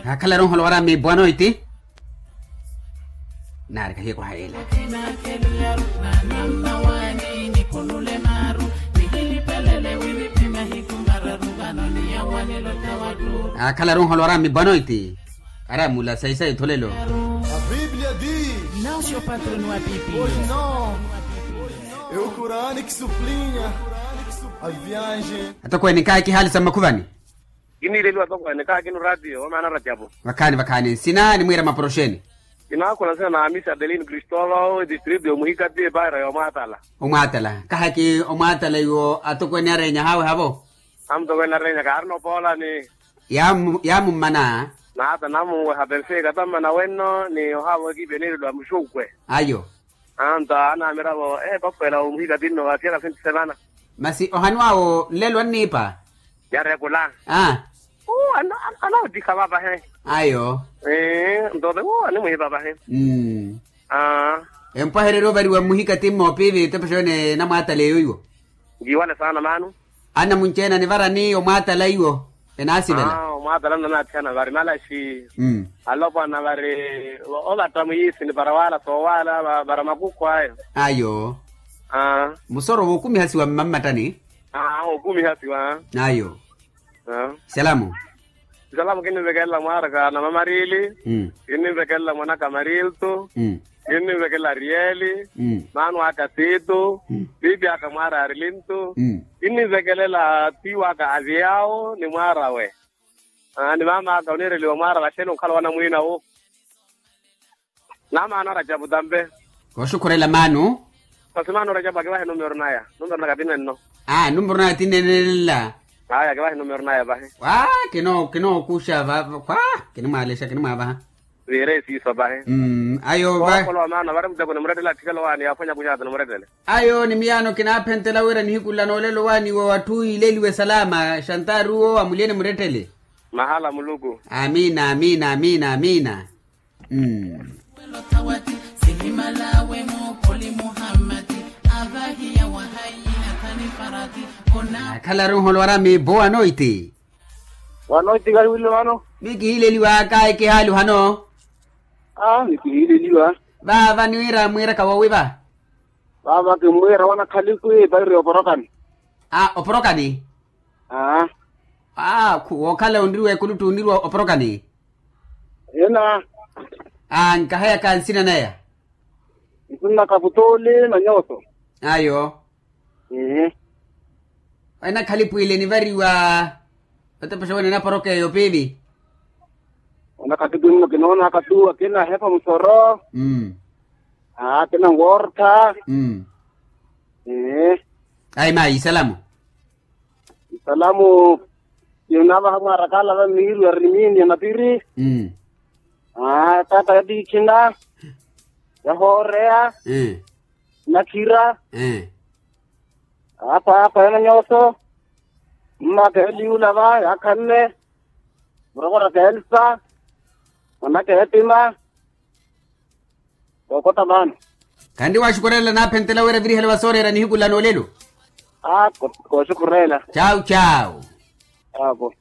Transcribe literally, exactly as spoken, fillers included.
Akhala eronholo wara mi boa noiti. Naari kahiye kuhayela. Akhala eronholo wara mi boa noiti. Aramula saisai tholelo. A Bíblia diz. Não, senhor patrono, a Bíblia. Pois não. É o Corão que sublinha a viagem. Atokweene kaakihaalisa mmakhuvani. Kiniileliwa atokweene kaakinu ratio wamaana racapo. Vakhaani vakhaani nsina nimwiira maporoxeni. Kinaakhula nsina na amisi adelino kristolo distrito yomuhikati epaira yomwaatala. Omwaatala kahaki omwaatala iwo atokweene areenya haawe havo. Amutokweene areenya kaarina opoolani. Yaamummana. Naata namuweha perfeika tammana wenno ni ohaavo ekipi eneereliwa muxukwe. Ayo. Anto anamiravo epakwela omuhika tinno vaatiyaka sinti semana. Masi ohanu awo nlelo anniipa. Yarekula. Aa. Anootiha vavahe. Ayo. Ntote animwihipa vahe. Aa. Empwahererya ovariwa mmuhika timmo piivi tepexe yone namwaataleyo iwo. Nkiwale saana maano. Anamunci-ene anivarani omwaatala iwo enaasivela. Omwaatala nnanaathiyana vari malaxi. Alopwana vari ovatta mwiisini para waala soowaala para makukhu ayo. Ayo. Musoro wookumihasiwa mmammattani. Wookumihasiwa. Ayo. Salamu. Salamu kinnivekelela mwaaraka namamariili. Kinnivekelela mwanaka marilto. Kinnivekelela arieli. Maano aka titu. Pipi aka mwaara arilinto. Kinnivekelela tiwaka aviyawo ni mwaarawe. Ni maamaaka oniireliwa mwaara vaxeni onkhala wanamwiinawo. Namaana rajapu tampe. Kooxukhurela maano. Masi maano rajapu akivahe numero naya numero naka tinenno. Aa numero naya tinenenla. Aya akivahe numero naya vahe. Wa kinookuxa kwa kinimwaalexa kinimwaavaha. Viire siiso vahe. Ayo va. Ookolowa maano vari muteko nimurettele atthikela owaani yaaphwanya kuxaata nimurettele. Ayo ni miyaano kinaaphentela wira nihiku nla noolelo owaani wa watthu iileliwe salama xantaari uwo amulyeni murettele. Mahala muluku. Amiina amiina amiina amiina. Akhala runholo wara mi boa noiti. Wanoiti kariwile vano. Mikihiileliwa kayi kihaali ohano. Aa mikihiileliwa. Vaava niwira mwiiraka woowi va. Vaava kimmwiira wanakhaliku epairo ya oporokani. Aa oporokani. Aa. Aa wookhala onriwa ekuluttu onriwa oporokani. Ena. Aa nkahayaka nsina naya. Nsinna kaputoole na nyooso. Ayo. Ehe. Enakhalipu ile enivariwa. Otepexa wene enaporoka eyo piili. Onakhatikhu nno kinoonaka tu akina ahepa musoro. Aa akina nwortha. Ayi mayi isalamu. Isalamu. Yonavaha mwarakala va mihiru ya rimini ya napiri. Aa tata ya tiikhina. Yahooreya. Nakhira. Apa apa ena nyooso. Mmaka eliula va yaakhanne. Murokoraka elsa. Mwanaka etima. Kookota maano. Khanri waxukurelela naaphentela wira virihela va sooreera nihiku nla noolelo. Aa kooxukurelela. Cawu cawu. Apo.